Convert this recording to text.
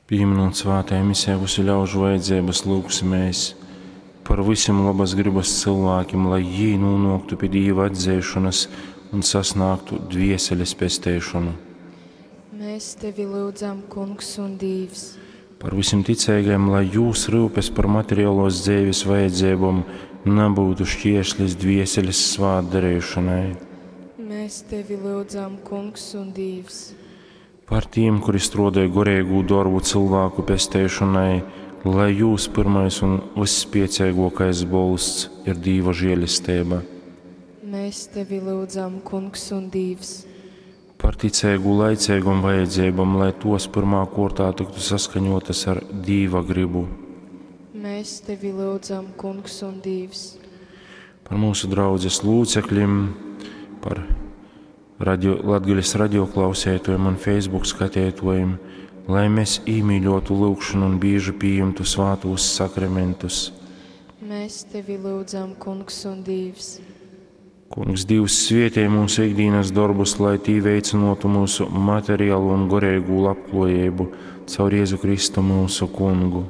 Pīminūt svātajā misē vysu ļaužu vajadzeibas, lyugsimēs par vysim lobas grybas cylvākim, lai jī nūnōktu pi Dīva atzeišonas un sasnāgtu dvieseles pesteišonu. Mēs tevi lyudzam, Kungs un Dīvs. Par vysim ticeigajim, lai jūs ryupes par materialōs dzeives vajadzeibom nabyutu šķierslis dvieseles svātdareišonai. Mēs tevi lyudzam, Kungs un Dīvs. Par tīm, kuri struodoj goreigū dorbu cylvāku pesteišonai, lai jūs pyrmais un vysspieceiguokais bolsts ir Dīva žielesteiba. Mēs tevi lyudzam, Kungs un Dīvs. Par ticeigu laiceigom vajadzeibom, lai tuos pyrmā kuortā tyktu saskaņuotys ar Dīva grybu. Mēs tevi lyudzam, Kungs un Dīvs. Par mūsu draudzes lūcekļim, par radio, Latgales radioklausētojiem un Facebook skateitājiem, lai mēs īmīļotu lūgšanu un bieži pieņemtu svātos sakramentus. Mēs tevi lyudzam, Kungs un Dīvs. Kungs, Dievs, svietī mūsu ikdienas darbus, lai tī veicinātu mūsu materiālo un garīgo labklājību caur Jēzu Kristu mūsu Kungu.